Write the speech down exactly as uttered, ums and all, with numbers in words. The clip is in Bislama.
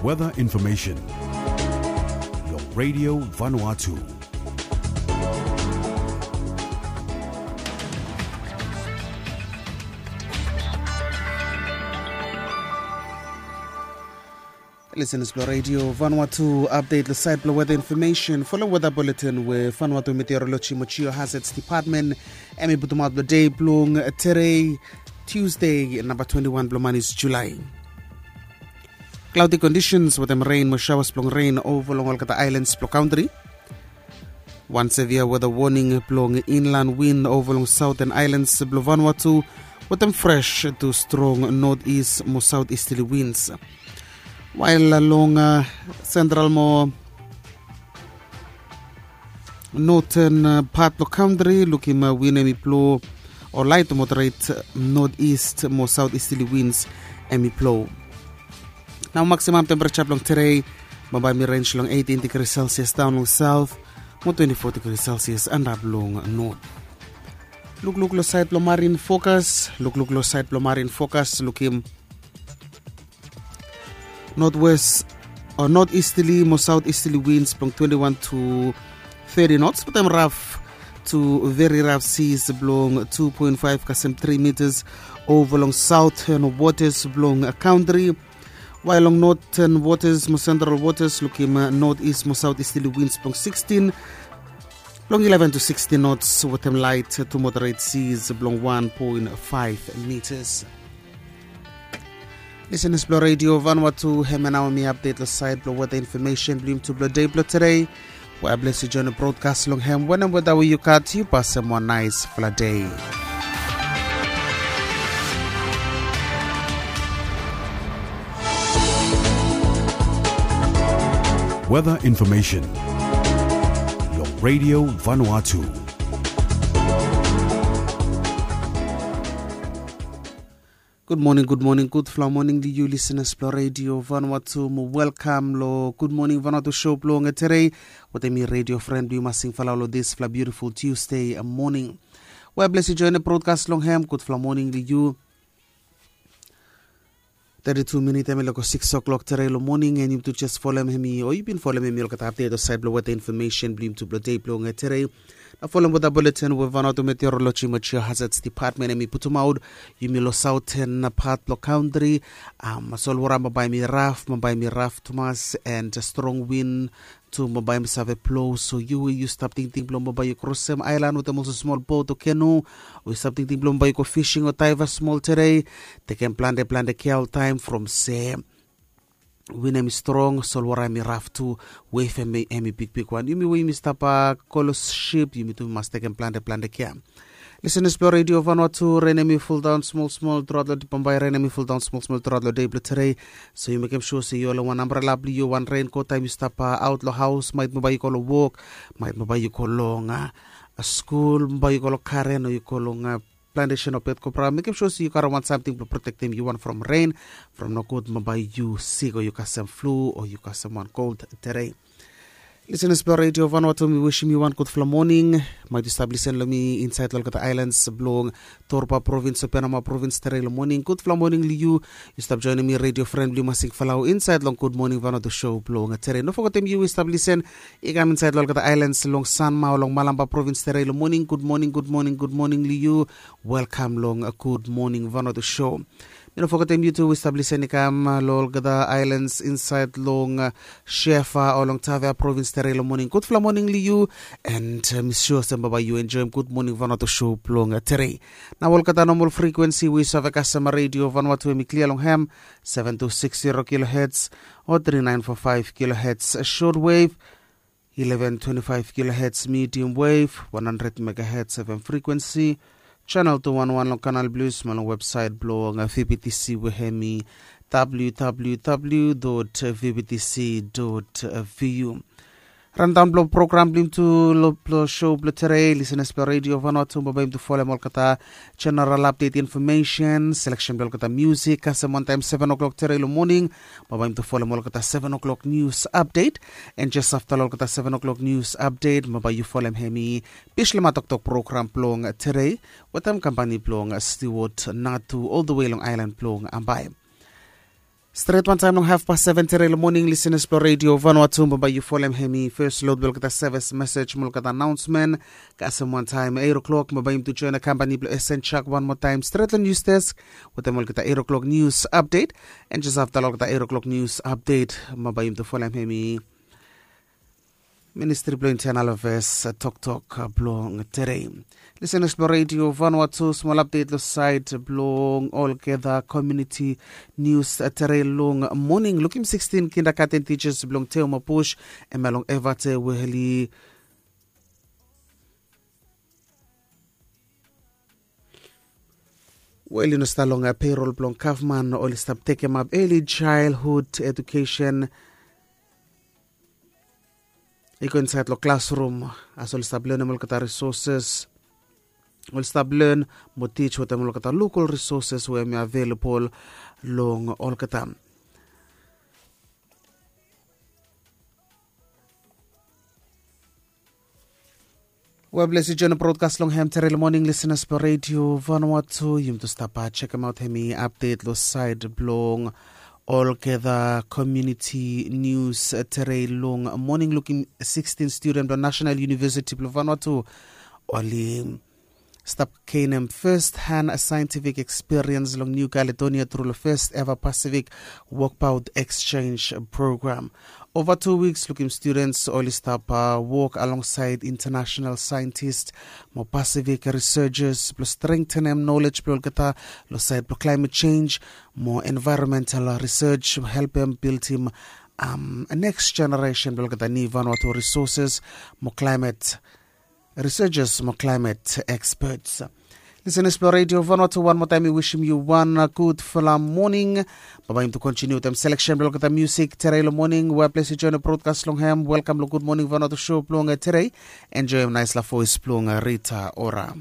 Weather information. Long Radio Vanuatu. Listeners blo Radio Vanuatu, update lo side blo weather information. Follow weather bulletin we Vanuatu Meteorology mo Geohazards Department hemi putumaot blo dei blong today, Tuesday, namba twenty-one blo manis July. Cloudy conditions wetem rain mo showers blong rain ova long olgeta islands blo country. Wan severe weather warning blong inland wind ova long southern islands blo Vanuatu, wetem fresh to strong northeast mo southeasterly winds. While long uh, central mo northern uh, part blo country, lukim uh, wind hemi blo o light to moderate uh, northeast mo southeasterly winds hemi blo. Nao maximum temperature blong today bambae mi range long eighteen degrees Celsius down long south mo twenty-four degrees Celsius and up long north. Lukluk lo side blo marine focus, lukluk lo side blo marine focus, lukim northwest or northeasterly mo southeasterly winds blong twenty-one to thirty knots, but dem rough to very rough seas blong two point five kasem three meters ova long southern waters blong country. While long northern waters mo central waters lukim uh, northeast mo southeasterly winds blong sixteen blong eleven to sixteen knots wetem light to moderate seas blong one point five meters. Listeners blo Radio Vanuatu, hemia nao mi update lo side blo weather information blo yumi tu blo dei blo today. We a bless yu join broadcast long hem wanem weather we yu gat, yu pasem wan nice fla dei. Weather information long Radio Vanuatu. Gud moning, gud moning, gudfala moning long yu listeners blong Radio Vanuatu mo welkam long Gud Moning Vanuatu show blong today. Wetem mi radio friend blong yu Masing Falau long disfala beautiful Tuesday moning. We a bless yu join broadcast long hem, gudfala moning long yu. Thirty-two minit hemi loko six o'clock today long moning, and yumi tu jes folem hemi o yu bin folem hemi olgeta update o side blong weather information blong yumi tu blong dei blong today. Na folem weather bulletin we Vanuatu Meteorology mo Geohazards Department hemi putumaot. Yumi lo southern part blong country, um, solwara bambae mi rough, bambae mi rough tumas, and strong wind tu bambae mi save blo. So yu we yu stap tingting blo bambae yu krosem aelan wetem olsem smol bot o kenu, o yu stap tingting blo bambae yu go fishing o daiva smol today, tekem plante plante kea oltaem from se wind hemi strong, solwara hemi rough tu, wave hemi, hemi bigbigwan. Yumi we yumi stap, uh, go lo sip, yumi tu mas tekem plante plante kea. Listeners blong Radio Vanuatu, ren hemi fuldaon smolsmol truaot lo dei, bambae ren hemi fuldaon smolsmol truaot lo dei blong today. So yu mekem sua se yu holem wan ambrela blong yu, wan renkot taem yu stap, uh, aot lo haos, maet bambae yu go lo wok, maet bambae yu go long, uh, skul, bambae yu go lo garen o yu go long, uh, plantesen o petkopra, mekem sua se yu karem wan samting blong protektem yu wan from ren, from nogud bambae yu sik o yu kasem flu o yu kasem wan cold today. Listeners blong Radio Vanuatu, mi wisim yu wan gudfala moning. Maet yu stap lisen lo mi insaed lo olgeta aelans blong Torba provins o Penama provins today lo moning, gudfala moning lo yu. Yu stap joenem mi radio fren blong yu Masing Falau insaed long Gud Moning Vanuatu show blong today. No fogetem yu we yu stap lisen i kam insaed lo olgeta aelans long Sanma o long Malampa provins today lo moning, gud moning, gud moning, gud moning lo yu. Welkam long Gud Moning Vanuatu show. Mi no fogetem yu tu we yu stap lisen i kam, uh, lo olgeta aelans insaed long, uh, Shefa o long Tavea provins today lo moning, gudfala moning lo yu. And, uh, mi sua olsem bambae yu enjoem Gud Moning Vanuatu show blong, uh, today. Nao olgeta nomol frikuensi we yu save kasem Radio Vanuatu hemi klia long hem, seven two six zero kilohertz o three nine four five kilohertz short wave, eleven twenty-five kilohertz medium wave, one hundred megahertz F M frequency, channel two one one long Canal Plus, mo long websaet blong V B T C we hemi W W W dot V B T C dot V U. Rundown blong program blong yumi tu lo, blong show blong today, listeners blong Radio Vanuatu, bambae yumi tu folem olgeta general update information, selection blong olgeta music, kasem wantaem seven o'clock today lo moning, bambae yumi tu folem olgeta seven o'clock news update. And jes afta lo olgeta seven o'clock news update, bambae yu folem hemi Bislama Toktok program blong today, wetem kampani blong Stewart Natu all the way long aelan blong Ambae. Stret wantaem long hafpas seven tere long moning, lisenas blong redio Vanuatu, bambae yu folem hemi fes lod blong olgeta sevis mesej mo olgeta anaonsmen. Kasem wantaem eit o'klok bambae yum tu joen kampani blong Esen Chak wan moa taem stret long nius desk wetem olgeta eit o'klok nius apdet. En jes afta long olgeta eit o'klok nius apdet bambae yum tu folem hemi Ministri blong Intenal Afeas toktok blong tere. Lisenas blong redio Vanuatu, smol apdet long saed blong olgeta komiuniti nius tere long moning. Lukim sikstin kindagaten tijas blong Teoma Bush, hemia long Evate, we oli we oli no stap long peirol blong gavman, oli stap tekemap eli jaelhud edukesen i go insaed long klasrum, as oli stap lenem olgeta risoses, oli stap len mo tij wetem olgeta lokal risoses we hemi avelebol long olgeta. Well, bless yu joen brodkas long hem tere long moning, lisenas blong redio Vanuatu. Yum tu stap jekemaot hemi apdet long saed blong olgeta komiuniti nius tere long moning. Lukim sikstin studen blong Nasenal Univesiti blong Vanuatu oli stap genem fes han saentifik ekspiriens long Niu Kaledonia tru long fes eva Pasifik Wokbaot Eksjenj Program. Ova tu wiks lukim studens oli stap wok alongsaed intanasenal saentis mo Pasifik risejes blong strengtenem nolej blong olgeta long saed blong klaemet jenj mo envaeronmental risej, helpem bildim neks jeneresen blong olgeta niu Vanuatu risoses mo klaemet risejes mo klaemet ekspets. Lisenas blong redio Vanuatu, wan moa taem mi wisim yu wan gudfala moning. Bambae yum tu kontiniu wetem seleksen blong olgeta musik tere long moning. Well, bless yu joen brodkas long hem. Welkam long Gud Moning Vanuatu sho blong tere. Enjoem naesla voes blong Rita Ora.